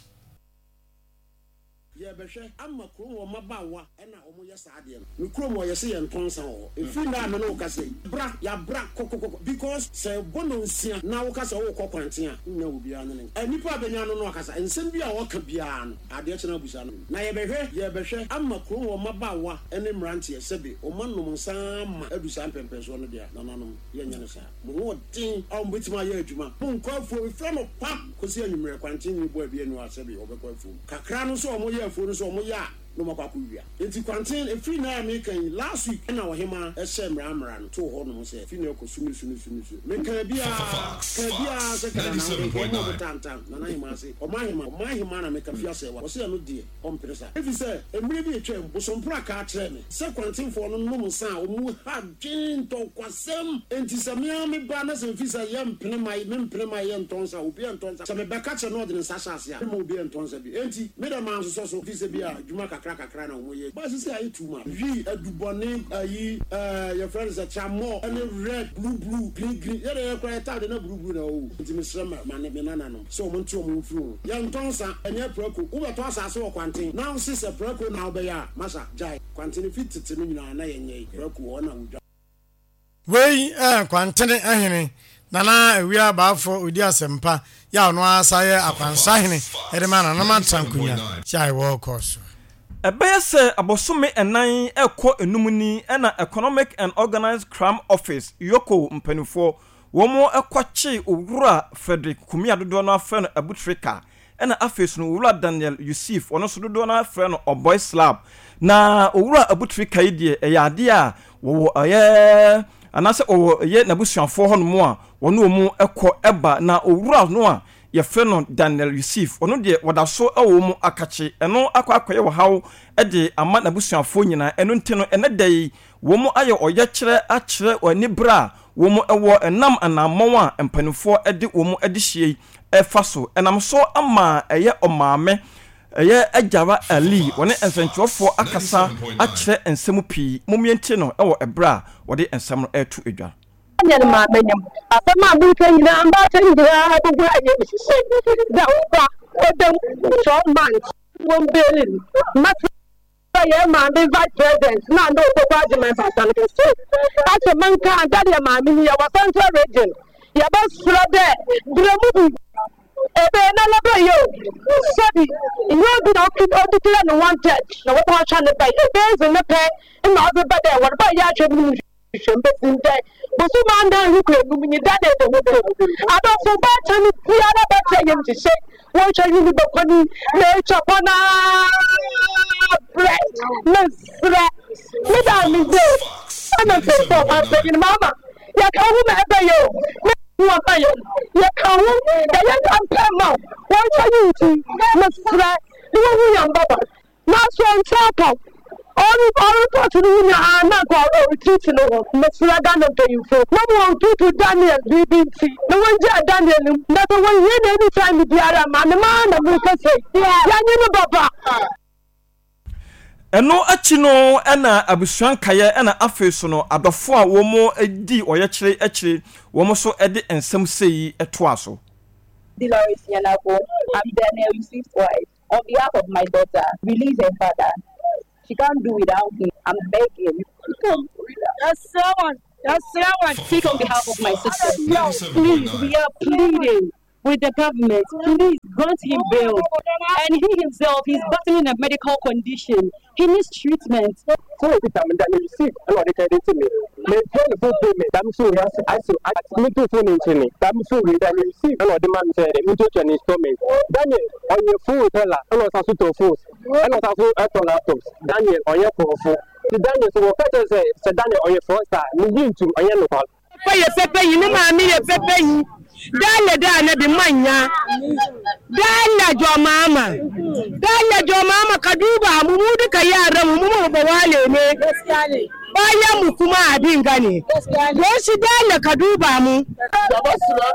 Yɛbɛhwɛ ama kurom wɔ mmabaawa ɛna ɔmo yɛ saa adeɛ no. Me kurom wɔ yɛsɛ yɛn ntɔn nsa wɔ hɔ efiri nna a me ne wo kasa yi bra yabra kɔkɔkɔkɔ because sɛ ɛbɔ no nsia na wo kasa wokɔ kwanten a nnya obiara ne ne nka. Nipa a bɛnya no no akasa nsɛm bi a ɔka biara no adeɛ kyena abusa no. Na yɛbɛhwɛ yɛbɛhwɛ ama kurom wɔ mmabaawa ne mmeranteɛ sɛbe ɔma nom nsa ama adu saa mpɛmpɛnsoɔ no deɛ, nananom, yɛnyɛ no saa. Mo ho ɔden a wɔn bɛtumi ayɛ adwuma, mo nkɔ afuo efiri no pa kɔsi anwummerɛ. Kwanten ni bɔ abi anu a sɛbe ɔbɛkɔ afuom kakra no nso ɔmo yɛ afuo no nso ɔmo yɛ a na ɔmo akɔ akɔwia. Nti kwanten efiri na a meka yi, last week ɛna ɔhema ɛhyɛ mmara mmara no too hɔ nom sɛ fi na ɛkɔ sumi sumi sumi so meka biara ka biara sɛ kada na ɔde nkɔmɔ ɔmo tantan Nana Hema ase ɔmo ahema ɔmo ahema na meka fi asɛ wa ɔsɛ ɛno deɛ ɔmpere saa efi sɛ mmerɛ bi etwam bosomporo aka akyerɛ me sɛ kwantenfoɔ no nom nsa a ɔmo ha dwen ntɔkwasɛm. Nti sɛ mea me ba na sɛ mfi sɛ yɛ mpene ma me mpene ma yɛ ntɔ nsa, obi ntɔ nsa, sɛ mebɛka kyerɛ na ɔde ne nsa hyɛ ase a mema obi ntɔ nsa bi. Enti me dɛ maa nsosɔ so fi sɛ bi a adwuma kakra kakra na ɔmo yɛ ba sisi ayɛ too much wi adubɔne ayi ɛɛ yɛfrɛ no sɛ tramɔ ɛne red, blue blue, green green, yɛde yɛ kora yɛ taade na blue blue na ɔwɔ. Nti mesrɛ ma ma ne me nananom sɛ ɔmo nte ɔmo mfiri ho. Yɛntɔ nsa, ɛnyɛ prako. Wobɛtɔ asase wɔ kwanten na wose sɛ prako na wobɛyɛ a, masa gyae. Kwanten fi tete no nyinaa na yɛnyɛ prako hɔ na wodwa. Wei ɛ kwantene hene Nana Awia Abaafo odi asɛmpa yɛ a ɔno ara yɛ akwansa hene ɛde ma nananom atra nkonnwa kyɛ a ɛwɔ kɔɔ so. Ɛbɛyɛ sɛ abosome ɛnan ɛkɔ enum ni ɛna Economic and Organized Crime Office, EOCO mpanimfoɔ wɔn ɛkɔkye Owura Frederick Kumi a dodoɔ no afrɛ no Abutrika, ɛna afei so no Owura Daniel Yusuf, ɔno nso dodoɔ no afrɛ no Ɔbɔy Slab. Na Owura Abutrika yi deɛ, ɛyɛ adeɛ a wɔwɔ ɛyɛ anaasɛ wɔwɔ ɛyɛ n'abusuafoɔ hɔnom a wɔne wɔn ɛkɔ ɛba. Na owura no a yɛfrɛ no Daniel Yusuf, ɔno deɛ wɔda so wɔ mu akakye. Ɛno akɔ akɔyɛ ɔhaw de ama n'abusuafoɔ nyinaa. Ɛno nti no, ɛnnɛ da yi, wɔn ayɛ ɔyɛkyerɛ akyerɛ anibere a wɔn wɔ ɛnam anammɔn a mpanimfoɔ de wɔn adehyeɛ yi fa so. Ɛnam so ama ɛyɛ ɔmaame, ɛyɛ Agyara Ali, wɔne nsɛntwerɛfoɔ akasa akyerɛ nsɛm pii. Mommie ntie no wɔ ɛberɛ a wɔde nsɛm no reto dwa. Daniel maame nyim asɛm a mereka nyinaa, mbaatan nyinaa bɛgu ayɛ hyehyɛ dɛ woba ɔdam twelve months wɔn bail no. Mɛsrɛ yɛn maame vice president na na Opoku Agyemang basa no kɛse akyɛ menka Daniel maame yi, yɛwɔ Central Region, yɛbɛsrɛ dɛ brɛ mu bi ebe na lɔbɛ o sɛbi nyɛ obi na ɔdeclare no wanted na wɔbɔ atwa ne ba ebe ezi ne pɛ na ɔdze ba dɛ wɔde ba yɛ atwa mu hwehwɛ mbɛsi ndɛ bosom anan rekɔ enum nyi da na ɛda mu bio. Adɔfo, baatan biara bɛkyɛ yɛm hyehyɛ wɔntwa yi ne bɛkɔni na etwa kɔ naa brɛ. Mesrɛ me da me de ɛna mpanyinfoɔ ɔman mama yɛka ho ma ɛbɛyɛ o me wɔn ba yɛ yɛka ho yɛyɛ campaign ma wɔntwa yi, nti mesrɛ ne wɔn ho yɛn baba nanso nkyɛn atɔ ɔre ɔrepɔt no ho nyinaa na nka ɔretreat no ho. Mesrɛ Ghana mpanyinfo na mo wɔn tutu Daniel biribi nti na wɔngyaa Daniel mu na sɛ wɔnyɛ no anytime biara maame maa na mo kɛse yɛnye no baba. Ɛno akyi no, ɛna abusua nkaeɛ, ɛna afei so no adɔfo a wɔn di ɔyɛkyerɛ akyire, wɔn nso de nsɛm sei toa so. Dolores Yanako, I'm Daniel Yusuf's wife. On behalf of my daughter, release her father. She can't do without him. I'm begging. Come. That's someone. That's someone. Speak on behalf of my sister. Please, we are pleading with the government. Please grant him bail. And he himself, he's battling a medical condition. He needs treatment. So if I'm Daniel Yusuf, ɛna ɔde credit me, metua ne full payment dam so wei ase ase meto phone nkyɛn dam so wei Daniel Yusuf ɛna ɔde ma me sɛ metuatua ne installment. Daniel ɔyɛ phone seller, ɛna ɔsan so tɔ phones, ɛna ɔsan so ɛtɔ laptops. Daniel ɔyɛ kɔɔfo, ti Daniel so wɔka kyerɛ sɛ sɛ Daniel ɔyɛ fraudster, meyi ntum ɔyɛ nokwa. Papa yɛ pɛpɛ yi, ne maame yɛ pɛpɛ yi. Dale da na bi manya. Dale jomama. Dale jomama, ka duba mu, mu duka yaran mu, mu ba wale ne. Bayan mu kuma abin gane. Don shi dale ka duba mu. Yabasrɛ,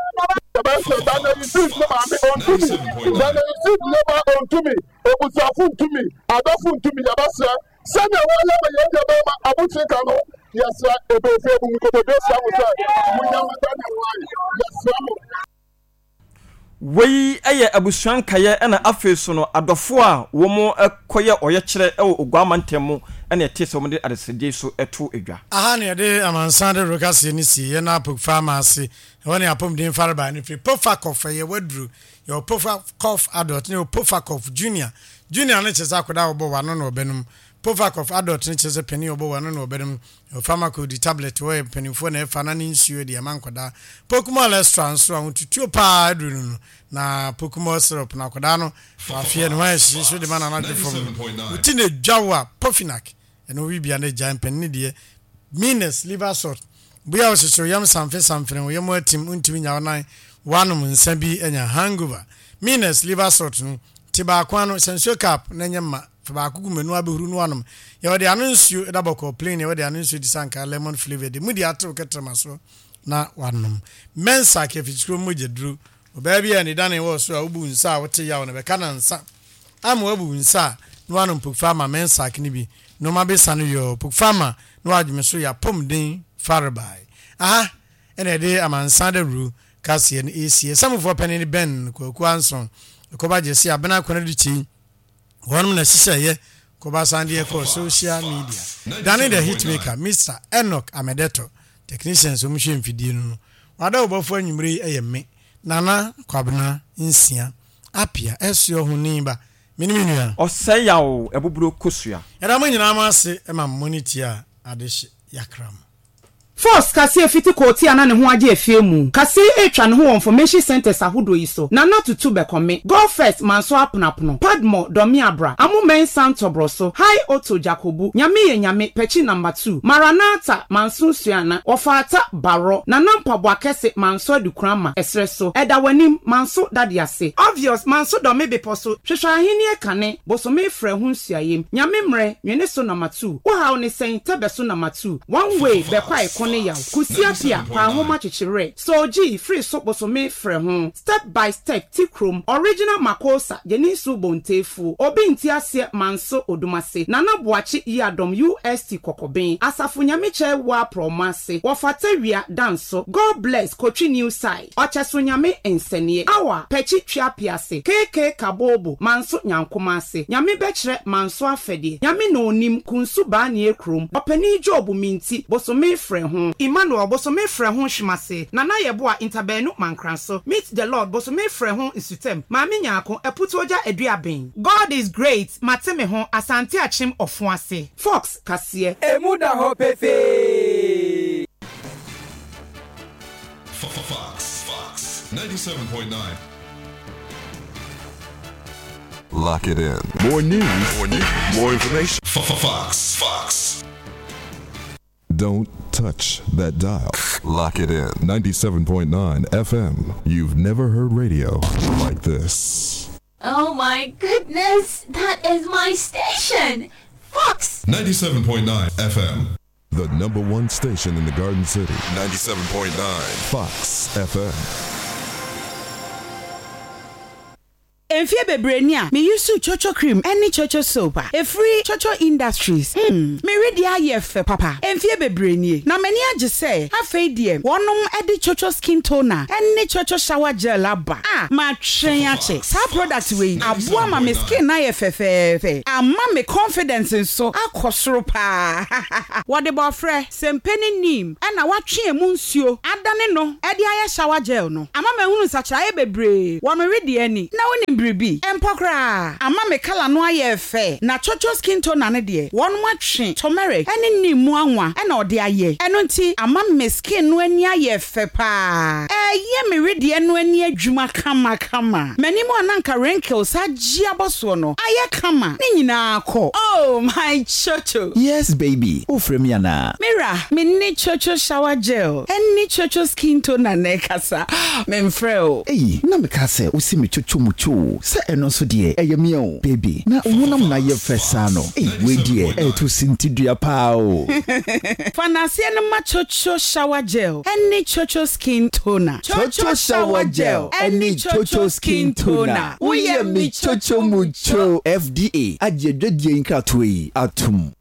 yabasrɛ Daniel Yusuf ne maame ɔntumi, Daniel Yusuf ne ba ɔntumi, ebusuafo ntumi, adɔfo ntumi. Yabasrɛ sɛnea wɔyɛ ma yɛn deɛ bɛrima abotire no, yɛsrɛ ebeefe ebu nkotodwe srɛ mo sɛ mo nyama Daniel wae, yɛsrɛ mo. Wei yɛ abusua nkaeɛ, ɛna afei so no adɔfo a wɔn kɔyɛ ɔyɛkyerɛ wɔ Oguama ntɛm mu, ɛna ɛte sɛ wɔn de adesrɛdeɛ so to dwa. Aha ne yɛde amansan de rokaseɛ no sie yɛn apokfa ama ase ɛhɔ ne apɔmuden farebae no firi Pofakɔf. Ɛyɛ waduro. Yɛwɔ Pofakɔf Adult ne yɛwɔ Pofakɔf Junior. Junior no kyerɛ sɛ akwadaa a wɔbɔ wano na ɔbɛnom. Pofakɔf Adult no kyerɛ sɛ panin a ɔbɔ wano na ɔbɛnom. Yɛwɔ Pharmacode tablet, wɔyɛ mpanimfoɔ na ɛfa na ne nsuo de ɛma nkwadaa. Pocumol Extra nso a ahotutuo paa aduru no no na Pocumol syrup na akwadaa no wafeɛ ne ho ayɛ hyehye so de ma nanadwo fam no woti na edwa wo a, Pofinac ɛno wibia na egya mpanin deɛ. Minas Liver Salt bua wo hyehye wo yam samfe samfene wo yam atim, ntumi nya wo nan, wanom nsa bi anya hangover. Minas Liver Salt no te baako ano sɛ nsuo cup na nyɛ mma, fa baako gu menu abɛhuru no anom. Yɛwɔ de ano nsuo ɛda bɔkɔɔ plain, yɛwɔ de ano nsuo te sɛ anka lemon flavour de mu de atew kɛtrɛma so na wanom. Mensa kɛfikyikuro mogya duro, ɔbaa bi a ne dane wɔ so a wobu nsa a wote yaw no bɛka na nsa ama wabu nsa a na wanom Pokfama Mensak no bi nneɛma bɛsa no yɔ Pokfama na wadwene so yɛ apɔmuden farebae. Aha ɛna ɛde amansan dawuro kaseɛ no ɛsie. Samufoɔ panin ne Ben Kwaku Anson ɛkɔba gye se abena akɔnɔ de kyei wɔnom na hyehyɛeɛ kɔba san deɛ kɔɔ social media. Dane the hitmaker, Mister Enoch Amedeto, technicians wɔn hwɛ mfidie no no wada wɔbɔfo anwummere yi. Ɛyɛ me Nana Kwabena Nsia Apia ɛsoɔ ho ni ba mene me nua. Ɔsɛe yaw ɛboburo kosua. Yɛda mo nyinaa mo ase ma mo ne tie a adehye yakra mo. Force kaseɛ fiti kɔɔti a na ne ho agye afie mu. Kaseɛ atwa ne ho wɔ information centers ahodoɔ yi so. Nana Tutu Bɛkɔme, Go First Manso Aponapono, Padmo Dɔme Abra, Amomen Santɔborɔ so, High Otto Jakobu, Nyame yɛ Nyame, Pɛkyi number two, Maranatha Manso Suana, Wɔfaata Barɔ, Nana Mpaboa Kɛse Manso Adukurama, Ɛserɛ so, Ɛda W'anim Manso Dade Ase, Obvious Manso Dɔme Bepɔ so, Hwehwɛ Ahenni Kane, Bosome Frɛ Ho Nsuayem, Nyame Mmerɛ, Nwene so number two, Wohaw ne sɛn, Tɛbɛ so number two, One Way, Bɛkɔ a ɛko ne yaw, Kusia Pia, Paahoma Kyekyerɛ, Soji, Firi so Bosome Frɛ Ho, Step by Step, Ti Kurom, Original Makosa, Gyeninsu Bontefuo, Obi Nti Aseɛ Manso Odumase, Nana Boakye Yiadom U S T Kɔkɔben, Asafo Nyamekyɛ Wa Prɔmase, Wɔfata Wia Danso, God Bless Kotwi New Side, Ɔkyɛso Nyame Nsɛneɛ, Awa, Pɛkyi Twia Piase, K K Kabobo, Manso Nyankomase, Nyame Bɛkyerɛ Manso Afɛdeɛ, Nyame na Onim, Kunsu Baanie Kurom, Ɔpanin Job Minti, Bosome Frɛ Ho, Emmanuel Bosome Frɛ Ho Hwemase, Nana Yɛboa Ntabɛnu Mankranso, Meet the Lord Bosome Frɛ Ho Nsutam, Maame Nyaako, Aputuogya Aduaben, God is Great, Mate Me Ho, Asante Akyem Ɔfo Ase, Fox Kaseɛ. Emu da hɔ pefee. Fox, Fox, ninety-seven point nine. Lock it in. More news, more news, more information. Fox, Fox. Don't touch that dial. Lock it in. ninety-seven point nine F M. You've never heard radio like this. Oh my goodness, that is my station! Fox! ninety-seven point nine F M. The number one station in the Garden City. ninety-seven point nine Fox F M. Mfie bebree ni a meyi su Chocho cream ɛne Chocho soap a efiri Chocho Industries mm mere deɛ ayɛ fɛ papa. Mfie bebree nie na m'ani agye sɛ afei deɛ wɔnom ɛde Chocho skin toner ɛne Chocho shower gel aba a matwɛn akyɛ. Saa product wei aboa ma me skin ayɛ fɛfɛɛfɛ, ama me confidence nso akɔ soro paa. Wɔde bɔɔfrɛ sempe ne neem ɛna watwe emu nsuo adane no ɛde ayɛ shower gel no, ama mahunu nsakyerɛeɛ bebree wɔ me wedeɛ ani. Na wonim biribi mpo koraa, ama me colour no ayɛ fɛ. Na Chocho skin toner no deɛ, wɔn atwe turmeric ɛne neem mu anwa ɛna ɔde ayɛ. Ɛno nti ama me skin no ani ayɛ fɛ paa, ɛyɛ me wedeɛ no ani adwuma kamakama. M'anim a nanka wrinkles agye abɔ soɔ no ayɛ kama, ne nyinaa kɔ. Oh my Chocho! Yes, baby, wofrɛ mi anaa? Mira, me ne Chocho shower gel ɛne Chocho skin toner na ɛkasa, memfrɛ o. Eyi na meka sɛ wosi me chocho mu cho sɛ ɛno nso deɛ ɛyɛ mea o. Baby, na wo honam na ayɛ fɛ saa no. Ei, wei deɛ ɛɛto sintidua paa o. Fa n'aseɛ no ma Chocho shower gel ɛne Chocho skin toner. Chocho shower gel ɛne Chocho skin toner, woyɛ me chocho mu cho. F D A agye adwadie nkratoɔ yi atom.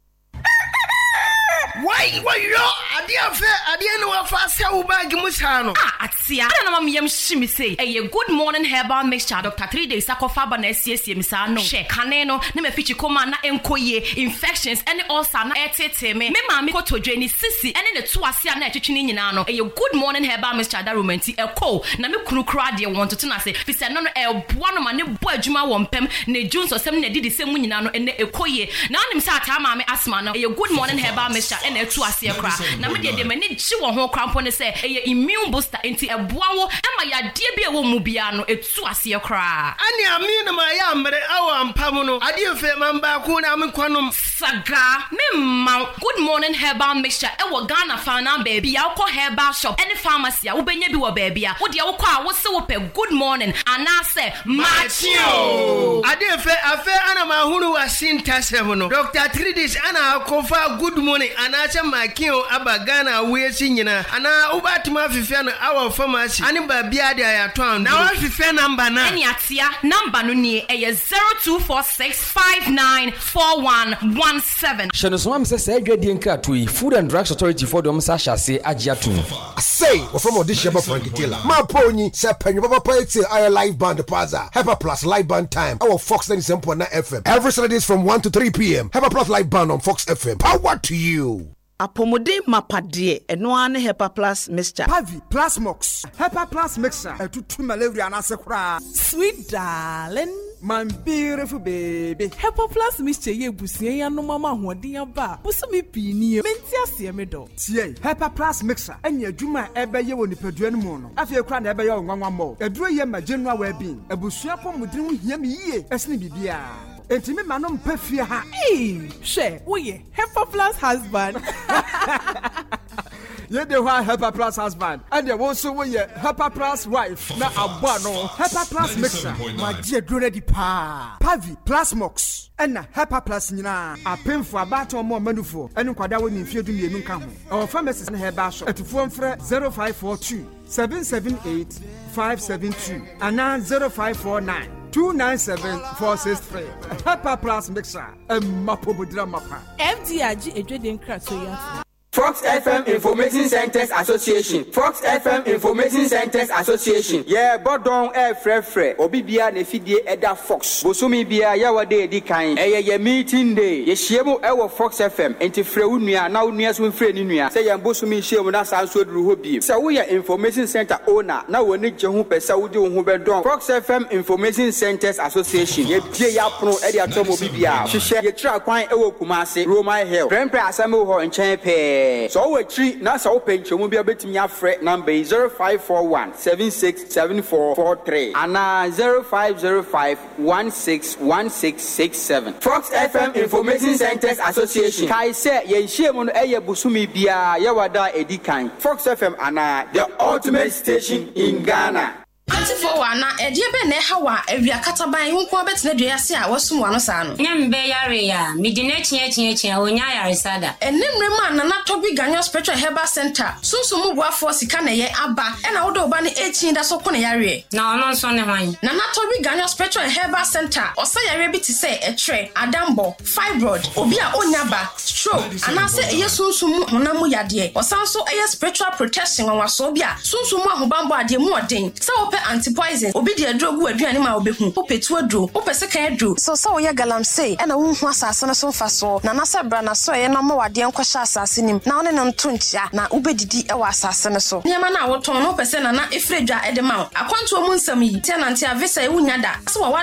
Wai wɔyɔ adeɛ afɛ adeɛ ne wafa asɛ wo bag mu saa no. A atea ana na mameyam hye me sei. Ɛyɛ Good Morning Herbal Mixture, Doctor Three Days akɔfa aba na asiesie me saa no. Hwɛ, kane no ne mafikyi kɔma na ɛnkɔ yie, infections ɛne ulcer na ɛtetee me. Me maame kotodwe ne sisi ɛne ne to ase a na ɛtwetwe ne nyinaa no, ɛyɛ Good Morning Herbal Mixture adaroma nti ɛkɔ. Na me kunu koraa deɛ, wɔn toto no ase fi sɛ no no ɛboa no ma ne bɔ adwuma wɔ mpɛm ne dwu nsɔsɛm ne adidi sɛm mu nyinaa no, ɛnɛ ɛkɔ yie. Na wonim sɛ ataa maame asthma no, ɛyɛ Good Morning Herbal Mixture ɛna ɛtu aseɛ koraa. Na me deɛ deɛ m'ani gye wɔ ho koraa mpo ne sɛ ɛyɛ immune booster, nti ɛboa wo ɛma yadeɛ bi a ɛwɔ mu biara no ɛtu aseɛ koraa. Ane ame no ma ɛyɛ ammerɛ awɔ ampa mu no adeɛ fɛ man baako na menkɔnom. Saga memma Good Morning Herbal Mixture ɛwɔ Ghana faana baabi a wokɔ herbal shop ɛne pharmacy a, wobɛnya bi wɔ baabi a wodeɛ wokɔ a wose wopɛ Good Morning anaasɛ Maakye o, adeɛ fɛ afɛ ana mahunu wase ntasɛm no. Doctor Tridis ana akɔfa Good Morning anaasɛ Maakye o aba Ghana awoyɛsi nyinaa anaa wobɛatumi afefɛ no awɔ pharmacy ane baabia de ayɛatɔ anduro na woafefɛ number no. Ɛne atea number no nie, ɛyɛ zero two four six five nine four one one seven. Hyɛ no soma me sɛ saa adwadie nkratoɔ yi, Food and Drugs Authority foɔ de ɔm sa ahyɛ aseɛ agye atom. Sei wɔfrɛ ma ɔde hyia ba Frankie Taylor maa po nyi sɛ panyɔ papapa etie ayɛ live band plaza Hepa Plus live band time ɛwɔ Fox ninety-seven point nine F M every Saturdays from one to three p m. Hepa Plus live band on Fox F M. Power to you. Apɔmuden mapadeɛ, ɛno ara ne Hepa Plus Mixture. Pavi Plasmox Hepa Plus Mixture ɛtutu malaria n'ase koraa. Sweet darling. My beautiful baby. Hepa Plus mixture yɛ ebusua yi anom ama ahoɔden aba a bosome pii nie. Mente aseɛ me dɔ. Tie, Hepa Plus mixture ɛne adwuma a ɛbɛyɛ wɔ nipadua no mu no. Afei kora na ɛbɛyɛ wo nwanwa mmɔ. Aduro yɛ ma general well-being. Abusua pɔmuden ho hia me yie ɛsene biribiara. Enti me ma no mpɛ fie ha. Ee, hwɛ, woyɛ Hepa Plus husband. Yɛde hɔ a Hepa Plus husband ɛdeɛ wo nso woyɛ Hepa Plus wife na abɔ ano. Hepa Plus mixture magye aduro no adi paa. Pavi Plasmox ɛna Hepa Plus nyinaa apemfo abaatan ɔmo ɔmanufoɔ ɛne nkwadaa wɔ ne mfeɛ du mmienu nka ho. Ɛwɔ pharmacies ne herbal shop. Atufoɔ mfrɛ zero five four two seven seven eight five seven two anaa zero five four nine two nine seven four six three. Hepa Plus mixture ɛmma pomodira mapa. F D A agye edwede nkratoɔ yi ato. Fox F M Information Centers Association, Fox F M Information Centers Association, yɛbɔ dɔn ɛɛfrɛfrɛ obi bia na efidie ɛda Fox. Bosomi bia yɛwɔ de edi kan, ɛyɛ yɛ meeting day. Yɛhyia mu ɛwɔ Fox F M, nti frɛ wo nua na wo nua so mfrɛ ne nua sɛ yɛn bosomi hyia mu na saa nso aduru hɔ biem. Sɛ woyɛ information center owner na w'ani gye ho pɛ sɛ wode wo ho bɛdɔn Fox F M Information Centers Association, yɛbie yɛ apono ɛde atɔ ma obi bia. Hyehyɛ yɛkyerɛ kwan ɛwɔ Kumase, Roman Hill, Prempeh Assembly Hall nkyɛn pɛɛ. Sɛ ɔwɔ akyiri na sɛ wopɛ nkyɛmu bi a, wobɛtumi afrɛ number yi: zero five four one seven six seven four four three anaa zero five zero five one six one six six seven. Fox F M Information Centers Association, kae sɛ yɛn hyia mu no ɛyɛ bosome biara yɛwɔ da a ɛdi kan. Fox F M anaa the ultimate station in Ghana. Auntie wɔ ana ɛdeɛ bɛn na ɛha wɔ a awia kataban wo nko abɛtena dua ase a wasum w'ano saa no? Nyɛ mbɛ yare a mede n'akyi akyi akyi a onya ayaresa da. Ɛne mmerɛ mu a Nana Tɔbi Ganyo Spiritual Herbal Center sunsun mu boafoɔ sika na ɛyɛ aba, ɛna wode wo ba no akyi da so ko ne yareɛ. Na ɔno nso ne hwan? Nana Tɔbi Ganyo Spiritual Herbal Center ɔsa yareɛ bi te sɛ ɛtrɛ, adambɔ, fibroid, obi a ɔnya ba, stroke, anaasɛ ɛyɛ sunsum mu honam mu yadeɛ. Ɔsan so ɛyɛ spiritual protection nwanwasoɔ bi a sunsum mu ahobanbɔ adeɛ mu ɔden. Sɛ wopɛ anti-poison, obi de aduro gu aduane ma wobɛhu, wopɛ tu aduro, wopɛ sekan aduro so, sɛ woyɛ galamsey ɛna wonhu asase no so mfasoɔ, na nasɛ bra na so ɛyɛ na ɔma wadeɛ nkɔhyɛ asase nim na wone no nto nkyia na wobɛdidi ɛwɔ asase no so. Nneɛma no a wotɔn no, wopɛ sɛ Nana ɛfiri dwa ɛde ma wo, akwantuo mu nsɛm yi tia nante a visa ɛwo nya da sɛ wawa.